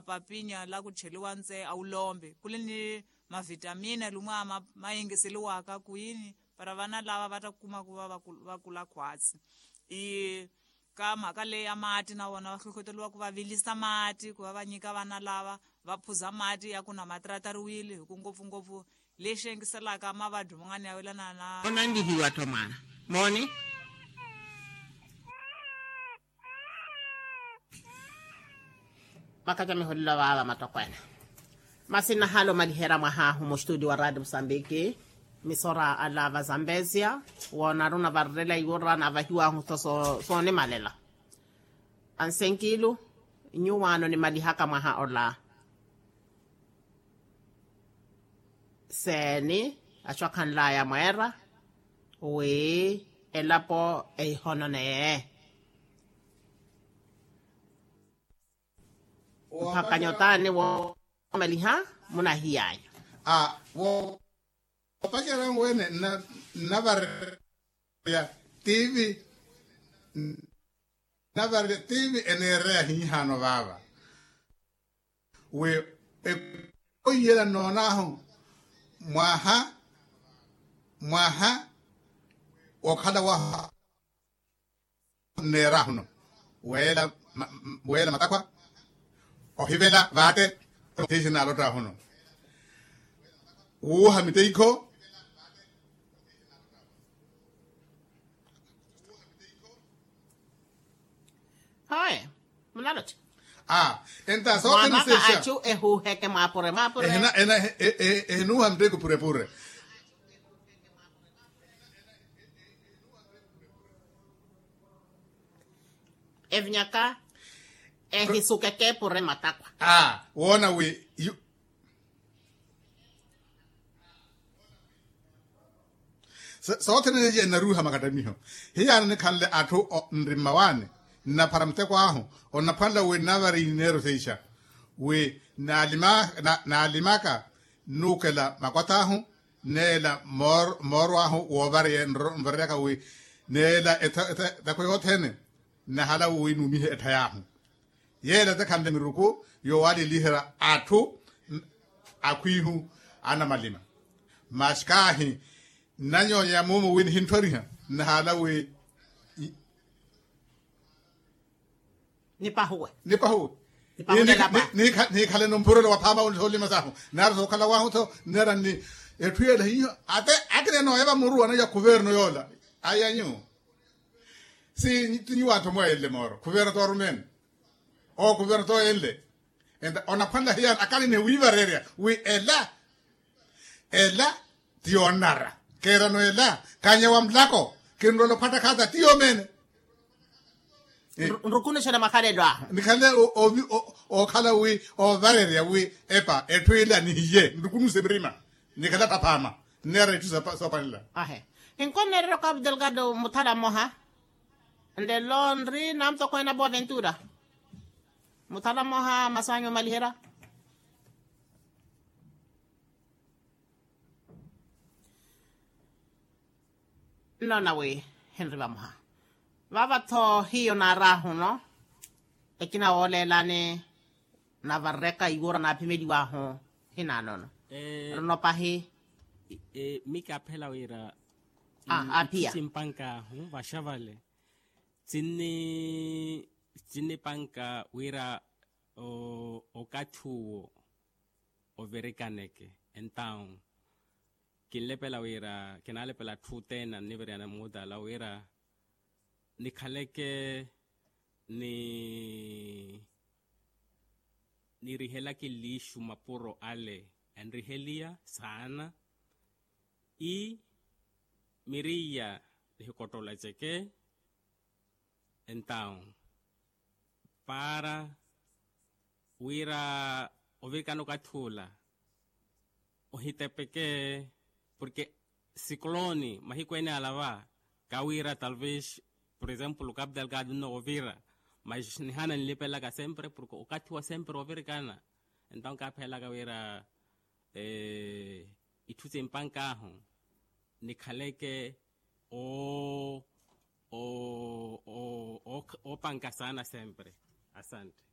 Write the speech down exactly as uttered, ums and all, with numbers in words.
papinya lakuttheliwa nse awulombe kuli ni mavitamina lumwa mayingiseliwaka kwini para vana lava vattakumaku vakula khwatsi. Ii ka mhakaleya maatti navona vahlohoteliwa kuvavilisa maatti kuvavanyika vana lava vaphuza maatti yakuna matrataruwili hiku ngopfu ngopfu lexenkiselaka mavaddu mungani yawelana na onanlihiwa tho mwaana mooni. Makaca miholelo vaava matokweene masi nahale omaliherya mwahaahu mustuti wa raati musambiki. Misora ala va zambezia woona aruna varerela iwura naavahiwaahu tho soonimalela. Ansenkilu nyuwaano nimalihaka mwaha ola seeni achu akhanlaya mweera wi elapo ehihononeye. Mpakha nyotaani woomaliha munahiyanya. Woopacerya nweene nnavarerya tivi nnavarerya tivi eneereya hiihaano vaava wi ekhoiyela nnoonaahu mwaha mwaha okhala wahu nneeraahuno weela matakwa ohivela vaate. Tiisi naalottaahuno wuuha miteikho. Hoye munalotta aa enta soothene sexa. Achu ehuuheke mwaapure mwaapure. Ehinuuha miteikho purepure. Evinyaka ehisukeke pure matakwa. Aa woona wi soothene seiya enaruuha makattamiho. Hiyaana nikhanle atthu nri mmawaani nnaphara muteko ahu onnaphwanela wi nnavari ineero seixa wi naalimaka nnuukela makwath'ahu neela mmoorw'ahu woovareya nvareyaka wi neela etakho yothene nnahala wi nuumihe etthay'ahu. Yeela tekhanle miruku yoowaliliherya atthu akhwiihu anamalima. Masi kaahi nnanyonya muumo wi nihinttwariha nnahaala wi nipahuwe nipahuwe. Nikhale nompurelo wa phaama wi ni soolima sahu nari sookhala wahu tho nera ni etthu yeela hiyo ate akina enooyeva muru anaja khuverno yoola. Ayanyu si ti nyuwo anthu mweeyenle mooro khuverno toorumeene. Owo khuverno tooyenle enta onaphwanela hiyaani akalini wiivarerya wi ela ela ti yoonnara keerano ela kanya wa mulako kinrola ophwatta khaata ti yoomeene. Nrukunuxela makhalelo ahu nikhale ookhala wi oovarerya wi epa etthu ila nihiye nrukunuxe mirima nikhale attaphaama. Nneera itthu soopanela ahe. Inkoneererya okapu delgado muthala mmoha nlelo nri na mutokweene apo aventura. Muthala mmoha masu anyu omaliherya. Nnoona wi hinri vamoha vaava-tho hiyo naaraahuno ekina wooleelani navarereka iwuura naaphimeliwaahu hinaanono. Runo pahi mi kaaphela wira aa aphiya simpankahu vaxavale. Tsinni tsinnipanka wira okathi uwo ovirikaneke entawu kinlepela wira kinaalepela atthu othene anniviriyana muutala wira nikhaleke ni nirihelake lixu mapuro ale enriheliya saana i miriya nihikottolaceke. Entawu para wira ovirikana okathi ula ohitepeke porke sikolooni mahiku ene ala va kawira talvez por exemplo okapu delgado nno ovira mas nihana nilipelaka sempre porke okathi wa sempre ovirikana. Entawu kaaphelaka wira itthu simpankahu nikhaleke o o o o opanka saana sempre. Asante.